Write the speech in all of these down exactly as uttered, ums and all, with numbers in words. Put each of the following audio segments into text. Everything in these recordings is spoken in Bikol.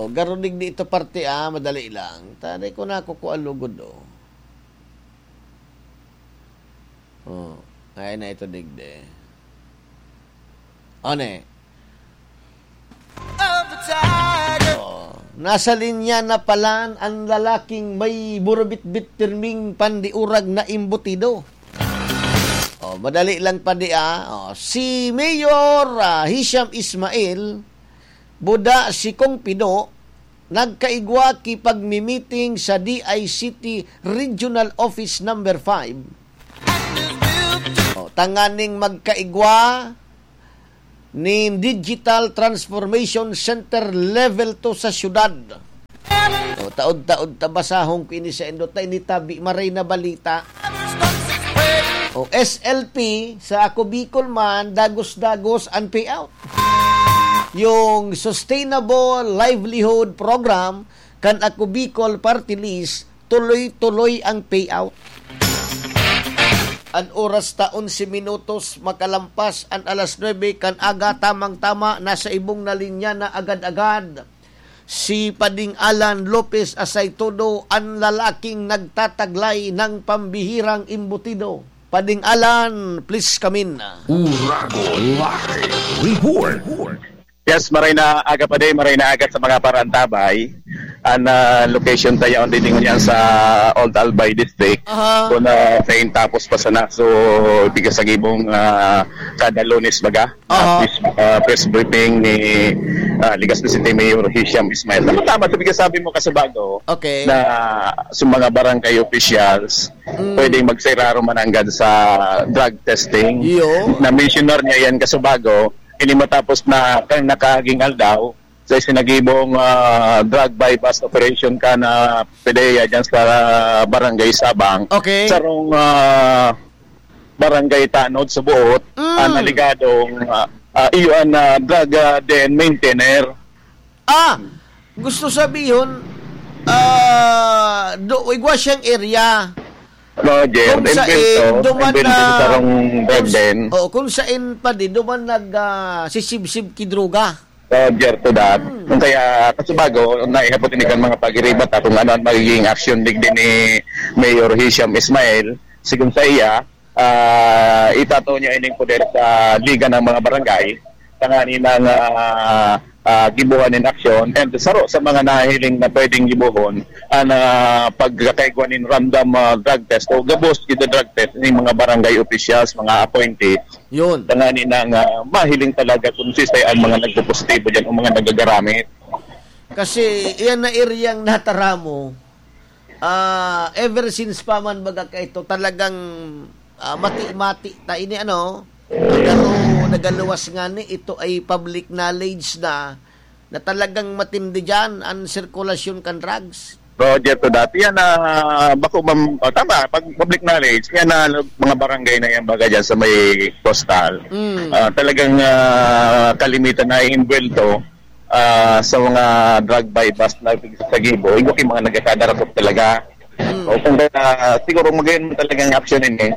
Garo digdi ito parte, ah, madali lang. Tari ko na kukuha lugod, oh. Oh, ay na ito digdi. One. Oh, nasa linya na palan ang lalaking may burubitbit pirming pandiurag na imbutido. Oh, madali lang pa di, ah. Oh, si Mayor, ah, Hisham Ismail, buda si Kong Pino, nagkaigwa ki pagmi-meeting sa D I C T Regional Office Number five. Oh, tanganing magkaigwa nin Digital Transformation Center Level two sa syudad. O, taod-taod ta basahon ko ini sa indot na ini tabi, maray na balita. O, S L P, sa Ako Bicol man, dagos-dagos ang payout. Yung Sustainable Livelihood Program, kan Ako Bicol Party List, tuloy-tuloy ang payout. An oras ta, onse minutos makalampas an alas nuebe kan aga, tamang-tama, nasa ibong na linya na agad-agad si Pading Alan Lopez Asaytodo, an lalaking nagtataglay ng pambihirang imbutido. Pading Alan, please come in. Uragon Live Report. Yes, maray na aga pa din, maray na aga sa mga parantabay. Ang ah, location tayo ang didingon yan sa Old Albay District. Aha. Kung na sa tapos pa sana, so bigas ang ibong ah, kada Lunes baga. Aha. Ah, press, ah, press briefing ni ah, Legazpi City Mayor Hisham Ismail. Tama-tama, sabi ka sabi mo, Kasubago, Okay. na sa mga barangay officials, Mm. pwedeng magsiraro man hanggang sa drug testing. Iyo. Na-mention niya yan, Kasubago, ini matapos na kan nakaging aldaw, sa isinagibong ah, drug buy-bust operation kan PDEA dyan sa Barangay Sabang. Okay. Sarong ah, barangay tanod sa buot, Mm. ang aligadong ah, ah, iyo ang ah, drug ah, den maintainer. Ah, gusto sabihon, ah, do, igwa siyang area. Roger, Kung sa inbento, in, duman inbento na, sa sarong kung s-, Branden. oh, kung sa in pa di, duman nag, ah, sisibsib ki droga. Roger to that. Hmm. Kung kaya, Kasubago, naihapot ini kan mga pagiribat, ah, kung ano ang magiging action digdi ni Mayor Hisham Ismail, sigon sa iya, ah, itato niya ining poder sa Liga ng mga Barangay, tanganing, ah, ah, gibuhan nin aksyon, and saro sa mga nahiling na pwedeng gibuhon, ang ah, pagkakaigwa nin random ah, drug test o gabos ito drug test ng mga barangay officials, mga appointees, Yun. tanganing ah, mahiling talaga kung sisay ang mga nagpopositibo dyan o mga nagagaramit. Kasi iyan na eryang nataramo, ah, ever since pa man baga kaito, talagang ah, mati-mati ta ini, ano, nagalo, nagaluwas nga ni, ito ay public knowledge na, na talagang matindi dyan ang sirkulasyon kan drugs. Roger to that. Yan, ah, bako mam-, oh, tama, pag public knowledge, yan na mga barangay na yan baga dyan sa may coastal. Mm. Ah, talagang ah, kalimitan na imbwelto ah, sa mga drug buy-bust na sa Gibo, igwa kay mga nagkakadarakot talaga. Mm. O kung kaya, siguro magayon man talagang action ini,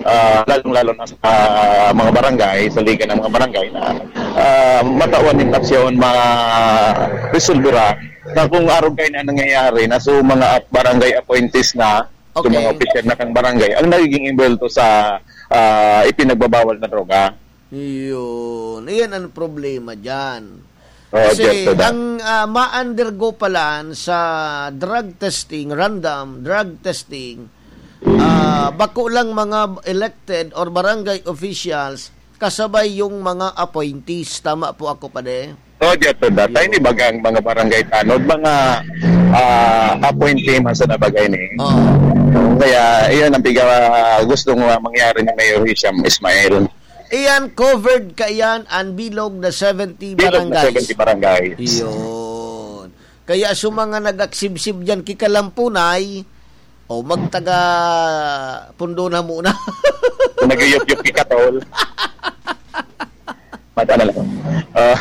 ah, lalong-lalo na sa mga barangay, sa liga ng mga barangay na ah, matawan yung aksyon, ma-resolvera na kung arog kayo na nangyayari na so mga ap- barangay appointees na, so mga Okay. opisyal na kang barangay, ang nagiging involved sa ah, ipinagbabawal na droga. Yun. Iyan ang problema dyan. Oh, Kasi Jeff, to that. ang ah, ma-undergo palan sa drug testing, random drug testing, ah, bako lang mga elected or barangay officials, kasabay yung mga appointees. Tama po ako, pade? Oh, Jeff, to that. Tayo ni bagang mga barangay tanod, mga ah, appointee man sa nabagay ni. Oo. Kaya iyon ang piga gustong ah, mangyari ni Mayor Hisham Ismail. Iyan, covered ka iyan, ang bilog na seventy Bilog na barangays. seventy barangays. Iyon. Kaya sa mga nagaksibsib dyan, kikalampunay, o magtaga pundo na muna. Kung nagyuyup-yup ki Katol. Mata na lang. Ah.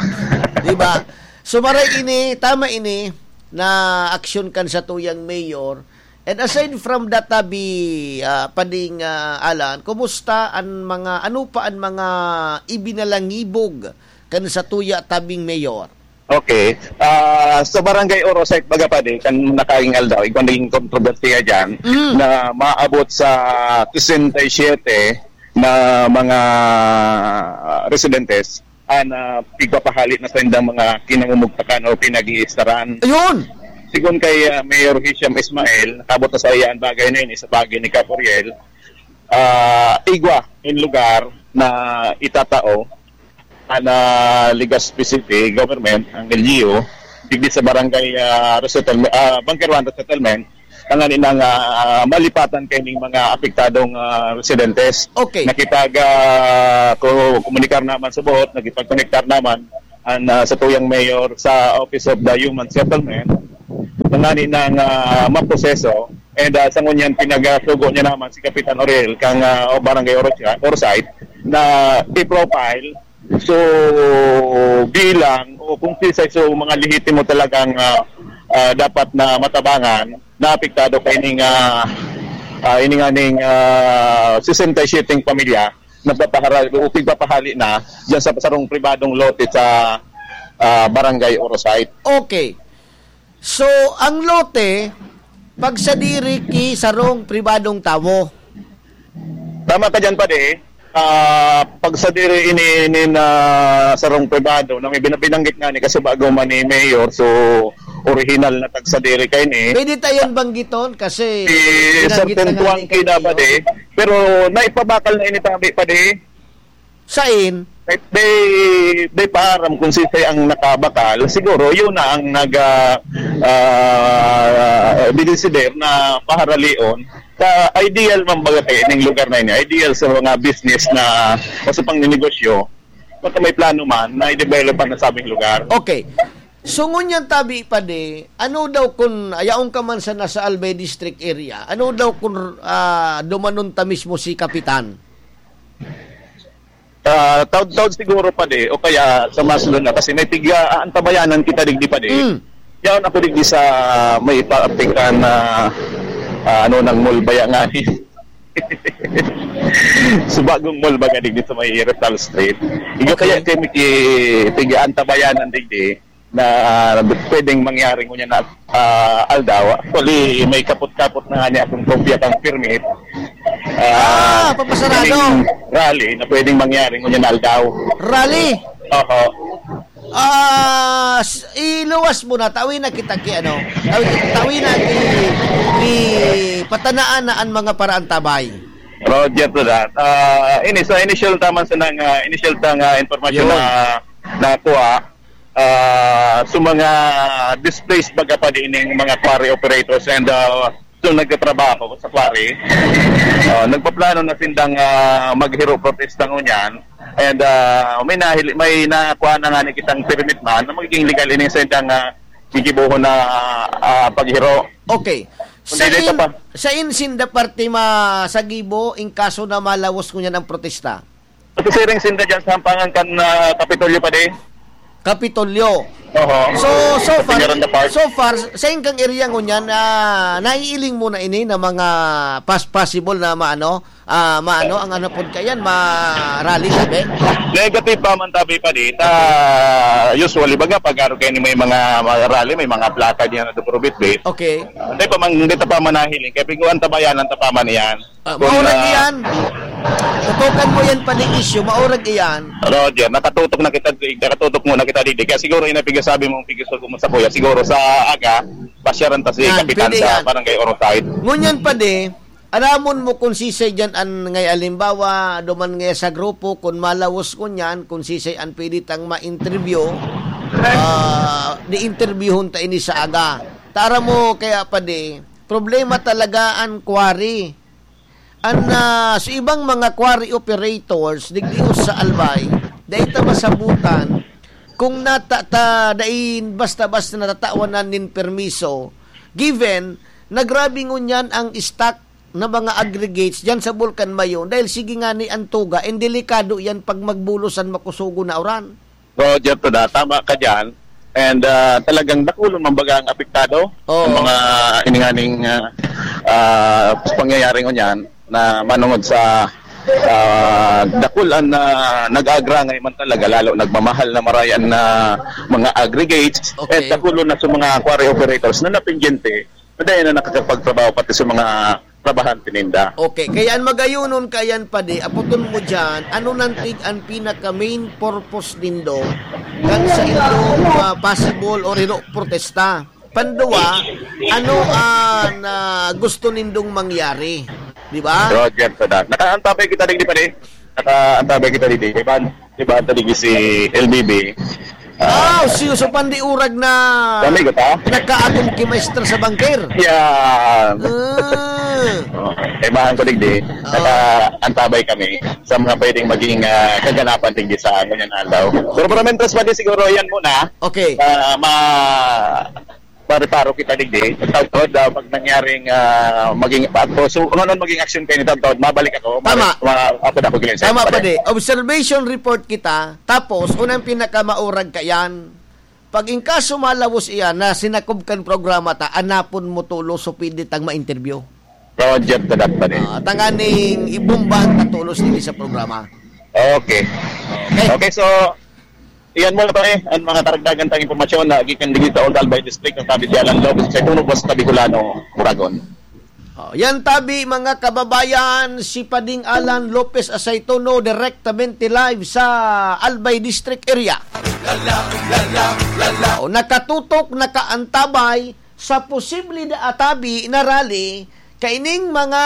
Di ba? So, maray ini, tama ini, na aksyon kan sa tuyang mayor. And aside from that, tabi, ah, pading ah, Alan, kumusta ang mga, ano pa ang mga ibinalangibog kan sa tuya tabing mayor? Okay. Ah, sa Barangay Orosite, baga pa di, kan nakaing aldaw, igwa naging kontrobersiya dyan, Mm. na maabot sa sesenta y siete na mga, ah, residentes, ah, na pigpapahali na sa indang mga kinamumugtakan o pinag-iistaran. Ayun! Sigon kay, ah, Mayor Hisham Ismail, nakabot na sa iya ang bagay na ini sa pagi ni Kap Oriel, ah, igwa in lugar na itatao na Legazpi City government, ang L G U, digdi sa barangay, ah, resettlement, ah, Bunker One resettlement, tanganing, ah, malipatan kaining mga apektadong, ah, residentes. Okay. Nakipag, ah, ko-, komunikar naman sa buhot, nakipag-konektar naman ang, ah, sa tuyang mayor sa Office of the Human Settlement, tanganing, ah, maproseso. And, ah, sa ngunyan, pinagasugo niya naman si Kapitan Oriel kang, ah, Barangay Orosia-, Orsay na i-profile. So, bilang o kung sisay so mga lehitimo talagang, ah, ah, dapat na matabangan, na apektado kaining, ah, ah, ining aning, ah, sesenta y siyete pamilya na papahara-, o pigpapahali na diyan sa sarong pribadong lote sa, ah, Barangay Orosite. Okay. So, ang lote, pagsadiri ki sarong pribadong tawo. Tama ka dyan, padi. Ah, pagsadiri ini, ini na sarong pribado na may binabinanggit nga ni kasubago man ni Mayor, so orihinal na tagsadiri kay ni. Pwede tayon banggiton kasi Si binanggit Sergeant na nga Tuang ni Kida, Castillo. Padi. Pero naipabakal na ini, tabi, padi. Sain? They, they, they paaram kung sisay ang nakabakal. Siguro, yun na ang nag, ah, ah, dinisider na paharalion. Sa ideal man baga, eh, ning lugar na ini, ideal sa mga business na o sa pangninegosyo, basta may plano man na i-develop ang nasabing lugar. Okay. So, ngunyan tabi pa di, ano daw kun, ayaon ka man sa nasa Albay District area, ano daw kun, ah, dumanon ta mismo si Kapitan? Ah, taod-taod siguro pa di, o kaya sa mas luna, kasi may piga, aantabayanan kita digdi pa di. Mm. Yaon ako digdi sa may paaptikan na, ah, ano, ng mall baya nga ni. Subagong mall baga digdi sa may Rizal Street. Igo Okay. kaya kay Miki, piga antabayanan digdi na pwedeng mangyari ngunyan na, ah, aldaw. Actually, may kapot-kapot na nga niya akong kopya kang permit. Ah, Ah, papasarado. Ining rally na pwedeng mangyari ngunyan na aldaw. Rally? Oho. Ah, s-, iluwas mo na, tawi na kita ki ano, tawi, tawi na ki, ki patanaan na ang mga paraantabay. Roger to that. Ah, ini, sa initial taman sa nang, ah, initial ta nga impormasyon Yun. na nakuha, ah, sa mga displaced baga pa din yung mga quarry operators and, ah, so nagtatrabaho sa quarry. Ah, nagpaplano na sindang, ah, maghiro protesta ngunyan. And, ah, may nahili-, may nakuha na nga ni kitang permit man na magiging legal ini sa indang, ah, gigibohon na, ah, paghiro. Okay. Sa Hindi, ito in-, pa. sa insinda parte ma-, sa gibo, in kaso na malawos ngunyan ang protesta? Ito siring sinda dyan sa Hampangan kan, ah, Kapitolyo pa di. Kapitolyo. Oho. So, so Sa far, Peñaranda Park. so far, sa ingkang area ngunyan, ah, naiiling mo na ini na mga pas-, possible na maano, ah, maano, ang ano pod kayan, ma-rally, sabi? Negative pa man tabi pa di. Ta, usually, baga, pag araw kayo ni may mga, mga rally, may mga plaka diyan na dukurubit, di. Okay. Hindi pa man, hindi ta pa manahiling. Kaya piguan ta ba yan, ang tapaman yan? Ah, Kung, maurag ah, iyan. Tutukan mo yan pa ning issue, maurag iyan. Roger, nakatutok na kita, nakatutok muna kita dito. Kaya siguro yung napigasabi mong pigasabi mo sa kuya, siguro sa aga, pasyaran ta si Yan, Kapitan pwede sa yan. Barangay Orosite. Ngunyan pa di, alamon mo kung sisay dyan an, ngay alimbawa, duman ngay sa grupo, kung malawos ngunyan, kung sisay an pwede tang ma-interview, ah, di-interviewhon ta ini sa aga. Tara mo, kaya pa di, problema talaga an quarry. An, ah, sa ibang mga quarry operators, digdi sa Albay, dai ta masabutan kung nata-, ta-, dai basta-basta natatawan na nin permiso, given na grabe ngunyan ang stock na mga aggregates diyan sa Bulkan Mayon, dahil sige nga ni ang tuga, and delikado yan pag magbulos an makusugo na uran. Roger to da, tama ka dyan. And, ah, talagang dakulon man baga ang apektado Oo. ng mga ininganing, ah, ah, pangyayari ngunyan na manungod sa Ah, dakul an, ah, nag-aagrangay man talaga, lalo nagmamahal na marayan na mga aggregates, Okay. at dakulon na sa mga quarry operators na napindyente, na dahil na nakakapagtrabaho pati sa mga trabahante ninda. Okay, kaya an magayonon kayan, padi, apoton mo diyan, ano nantig an pinaka main purpose nindo kan sa indong, ah, possible or ino protesta? Panduwa, ano an, ah, gusto nindong mangyari? Di ba? Roger, sa dat. Nakaantabay kita digdi, pare. Nakaantabay kita digdi. Iban, iban ta digdi si L B B. Ah, si Uso Pandi Urag na Kami, gata? nakaagom ki Maestra sa bangker. Yan. Ah. Oh, kaibahan ko digdi. Oo. Nakaantabay kami sa mga pwedeng maging, ah, kaganapan digdi sa ngunyan aldaw. Pero, pero mentres pa di siguro yan muna. Okay. Ah, ma-, Pare-paro kita digdi. Taod-taod, ah, pag nangyaring, ah, maging, pag, so, kung ano maging action kayo ni taod-taod, mabalik ako. Tama. Mabalik, ma-, ako na ako, Glenn. Tama, Pare. Padi. Observation report kita. Tapos, unang pinakamaurag ka yan. Pag in kaso malawos iyan na sinakob kan programa ta, anapon mo tulos so pwede tang ma-interview. Roger, tadat, Pare. Ah, tanganing ibombahan ka tulos din sa programa. Okay. Okay. Okay, so, iyan muna, pare, ang mga karagdagan tang impormasyon na gikan digdi sa Old Albay District, ang tabi si Alan Lopez sa Tunog, Basta Bicolano, Uragon. Oh, yan tabi, mga kababayan, si Pading Alan Lopez Asaytono, direktamente live sa Albay District area. Oh, nakatutok, nakaantabay sa posible na atabi na rally kaining mga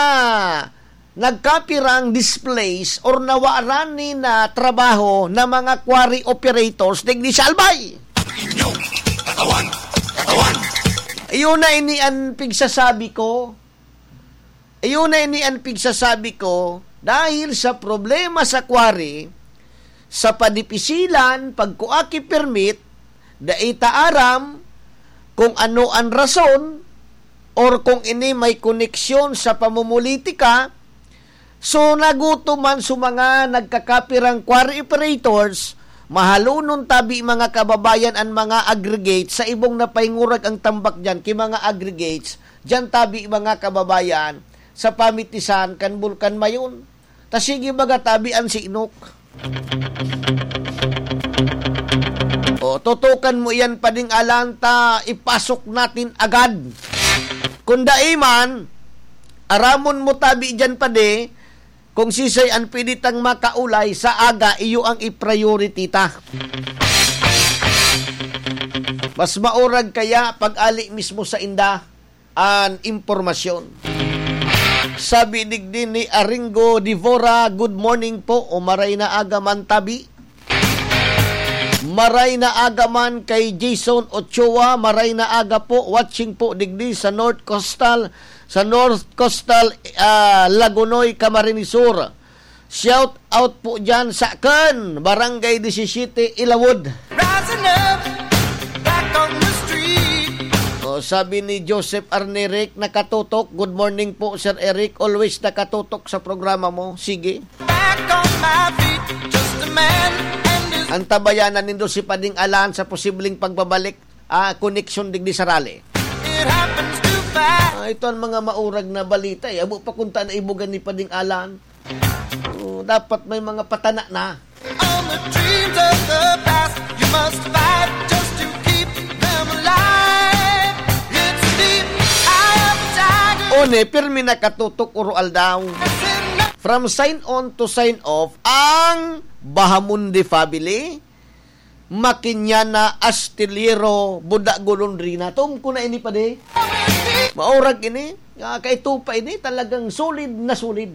nagkapirang displaced or nawaran ni na trabaho na mga quarry operators digdi sa Albay. Iyon na ini an pigsasabi ko. Iyon na ini an pigsasabi ko, dahil sa problema sa quarry, sa padipisilan, pagkua ki permit, dai ta aram kung ano an rason or kung ini may koneksyon sa pamumulitika. So, nagutom man sa mga nagkakapirang quarry operators, mahalonon tabi, mga kababayan, an mga aggregates sa ibong napaingurag ang tambak diyan ki mga aggregates, diyan tabi, mga kababayan, sa pamitisan kan Bulkan Mayon. Ta sige baga tabi an sinok. O, tutukan mo iyan, Pading Alan, ta ipasok natin agad. Kung dai man, aramon mo tabi diyan, padi, kung sisay an pwede tang makaulay sa aga, iyo ang i-priority ta. Mas maurag kaya pag-ali mismo sa inda an impormasyon. Sabi digdi ni Aringo Divora, "Good morning po," o maray na aga man tabi. Maray na aga man kay Jason Ochoa, maray na aga po, watching po digdi sa North Coastal, sa North Coastal, ah, Lagonoy, Camarines Sur. Shout out po dyan sa Akan, Barangay disisiyete, Ilawod. Rising up, back on the street. O, sabi ni Joseph Arneric, nakatutok. Good morning po, Sir Eric. Always nakatutok sa programa mo. Sige. Back on my feet, just a man and his Antabayanan nindo si Pading Alan sa posibleng pagbabalik, ah, koneksyon digdi sa rally. It happens too fast. Ah, ito ang mga maurag na balita, eh. Abo pa kung taan na ibugan ni Pading Alan. Oh, dapat may mga patana na. On the dreams of the past, you must fight just to keep them alive. It's the eye of the tiger. One, pirmi nakatutok, Uro Aldaw. From sign on to sign off, ang Bahamonde family, Makinyana, Astillero, Buda, Golondrina. Tum ko na ini, padi. Maurag ini. Ah, kaito pa ini, talagang solid na solid.